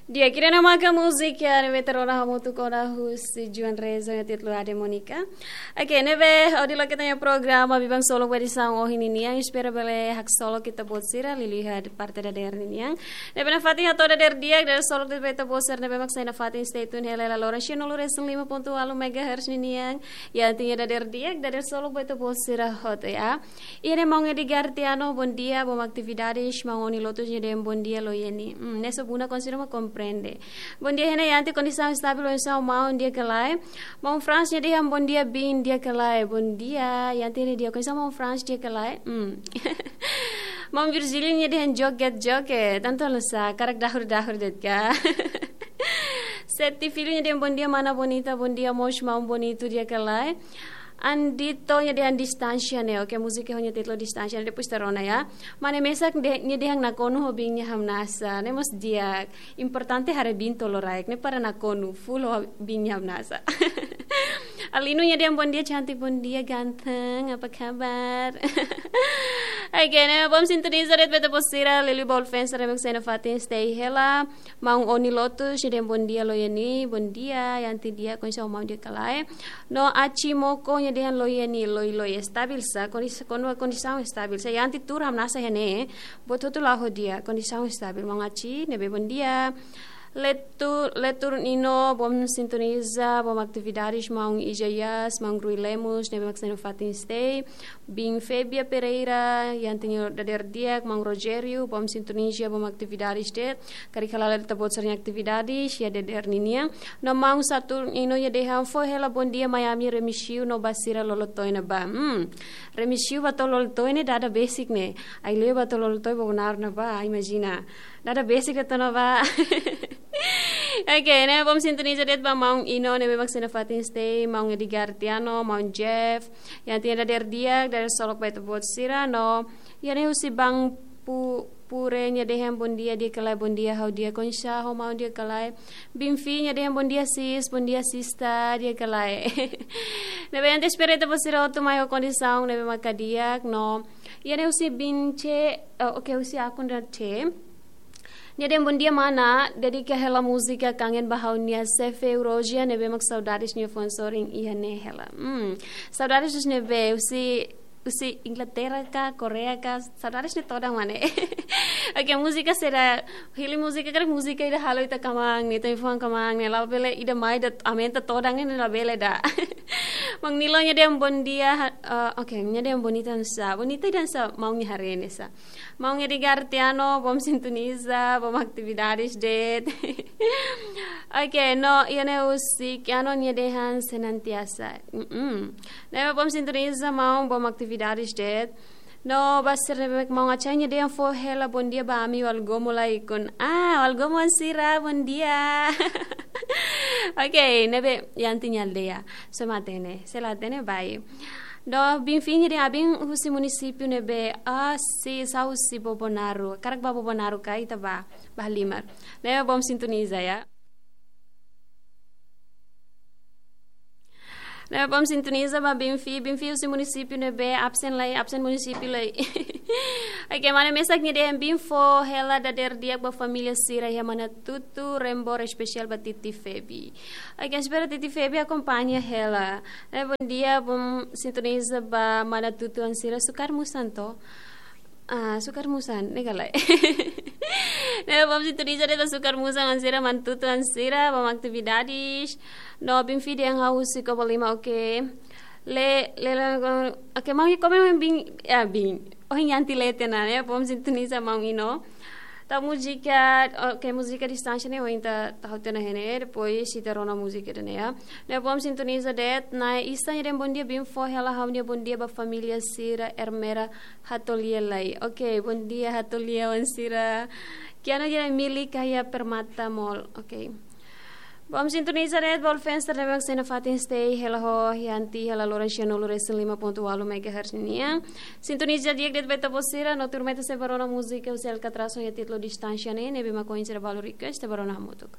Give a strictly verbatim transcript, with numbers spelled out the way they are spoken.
Di'ak, ida-ne'e maka múzika ne'ebé ita rona hamutuk ona husi Juan Reza ho títulu Ade Monica. Oke, ne'ebé hodi loke ita-nia programa Biban Solok ba edisaun ohin ninian, espera bele haksolok ita-boot sira liuliu iha parte dadeer ninian. Ne'ebé nafatin hato'o dadeer di'ak, dadeer solok de'it ba ita-boot sira ne'ebé mak sai nafatin, stay tune hela iha lima nulu resin lima pontu ualu megahertz ninian. Iha ita-nia dadeer di'ak, dadeer solok ba ita-boot sira hotu, ya. Iha ne'e Maun Edgar Tiano, bondia, bom atividades, Maun Oni Lotus nia dehan bondia Loieni. Hmm, ne'e só buna konsidera mak komprende. Bondia, iha ne'e Yanti, kondisaun estabil, kondisaun maun di'ak ka lae. Maun Frans nia dehan bondia biin, di'ak ka lae. Bondia, Yanti, ne'e di'ak, kondisaun Maun Frans di'ak ka lae. Hmm. Maun Virgílio nia dehan joget-joget, tantu halo sá, hakarak dahur-dahur de'it ka. Seti Filho nia dehan bondia mana Bonita, bondia mós maun Bonitu, di'ak ka lae. Andito nia dehan distánsia ne'e, oke, múzika ho nia títulu distánsia ne'e, depois ita rona, ya. Mane Mesak de-, nia dehan nakonu ho biin nia hamnasa, ne'e mós di'ak, importante haree biin tolo-raik, ne'e para nakonu, full ho biin nia hamnasa. Alino nia dehan bondia cantik, bondia ganteng, apa kabar? Oke, ne'e bom sintoniza de'it ba ita-boot sira, liuliu ba Ulfensa, remix ena fatin stay hela. Maun Oni Lotus nia dehan bondia Loieni, bondia, Yanti, di'ak, kondisaun maun di'ak ka lae. No Aci Moko nia dehan Loieni, loi-loi, estabil sá, kondis-, kon-, kondisaun estabil sá. Yanti, tuur hamnasa iha ne'e, buat hotu la'o di'ak, kondisaun estabil. Maun Aci, ne'ebé bondia. Letu-, Letur Nino, bom sintoniza, bom atividades, Maun Ija Yas, Maun Rui Lemos, ne'ebé mak sai nafatin stay. Biin Febia Pereira, Yanti, nia dadeer di'ak, Maun Rogério, bom sintoniza, bom atividades de'it, karik hala'o ita-boot sira-nia atividades iha dadeer ninian. No Maun Saturnino nia dehan fó hela bondia Miami, remisiu no ba sira lolotoin ne'ebá. Hmm, remisiu ba to'o lolotoin ne'e dada besik ne'e. Ai-leo ba to'o lolotoin Bobonaro ne'ebá, imajina. Dada besik de'it ona ba. Oke, ne'e bom sintoniza de'it ba Maun Ino, ne'ebé mak sai nafatin stay, Maun Edgar Tiano, Maun Jeff. Yanti, nia dadeer di'ak, dadeer solok ba ita-boot sira, no iha ne'e husi Bang Pu-, Pure nia dehan bondia, di'ak ka lae, bondia, ha'u di'ak, kondisaun ho maun di'ak ka lae. Biin Fi nia dehan bondia sis, bondia sista, di'ak ka lae. Ne'ebé Yanti, espera ita-boot sira hotu mai ho kondisaun ne'ebé maka di'ak, no iha ne'e husi Biin Che, eh, oke, husi akun da Che. Nia dehan bondia mana, dedika hela múzika Kangen ba ha'u-nia xefe Eurógia, ne'ebé mak saudades nia foun sorin iha ne'e hela. Hmm, saudades ne'ebé, husi, husi Inglaterra ka, Koreia ka, saudades ne'e todan mak ne'e. Oke, múzika sira, hili múzika, karik múzika ida halo ita kmaan ne'e, ita-nia fuan kmaan ne'e, labele ida mai ida aumenta todan ne'e, labele ida. Maun Nilo nia dehan bondia, ha-, eh, oke, nia dehan bonita hanesan sá, bonita hanesan sá, maun nia haree hanesan sá. Maun Edgar Tiano, bom sintoniza, bom atividades de'it. Oke, no iha ne'e husi Kiano nia dehan senantiasa. Mm-mm. Ne'ebé bom sintoniza, maun, bom atividades de'it. No ba sira ne'ebé, Maun Acai nia dehan fó hela bondia ba ami Walgomo Laikon. Ah, Walgomo sira, bondia. Oke, ne'ebé Yanti nia aldeia. Só mak hatene, se la hatene, bye. No Biin Fi nia dehan abin husi munisípiu ne'ebé, ah, si, sá husi Bobonaro. Hakarak ba Bobonaro ka, ita bá, bá halimar. Ne'ebé bom sintoniza, ya. Ne'ebé bom sintoniza ba Biin Fi, Biin Fi husi munisípiu ne'ebé, absen lai, absen munisípiu lai. Oke, Mane Mesak nia dehan biin fó hela dadeer di'ak ba família sira iha Manatutu, rembor espesiál ba Titi Febi. Oke, espera Titi Febi akompaña hela. Eh, bondia, bom sintoniza ba Manatutu-an sira, Sukarmusan to. Ah, Sukarmusan, ne'e ka lae. Ne'ebé bom sintoniza de'it ba Sukarmusan-an sira, Manatutu-an sira, bom atividades. No Biin Fi dehan ha'u husi Covalima, oke. Le, le, le, oke, maun, komen maun biin, ya, biin. Ohin Yanti leten ona, ne'e, bom sintoniza maun Ino. Tau múzika, oke, múzika distánsia ne'e, ohin ita tau tiha ona iha ne'e, depois ita rona múzika ida-ne'e, ya. Ne'ebé bom sintoniza de'it, Nae Isa nia dehan bondia, biin fó hela ha'u-nia bondia ba família sira, Ermera Hatolia lai. Oke, bondia Hatolia-an sira. Kiano nia dehan Mili Kaya Permata Mall. Oke. Bom sintoniza de'it ba Ulfensa ne'ebé mak sai nafatin stay hela ho Yanti hela loron sia nulu resin lima pontu ualu megahertz nian. Sintoniza di'ak de'it ba ita-boot sira, no tuirmai ita sei bá rona múzika husi Alcatraz ho nia títulu Distánsia ne'e, ne'ebé mak ohin sira balu request, ita bá rona hamutuk.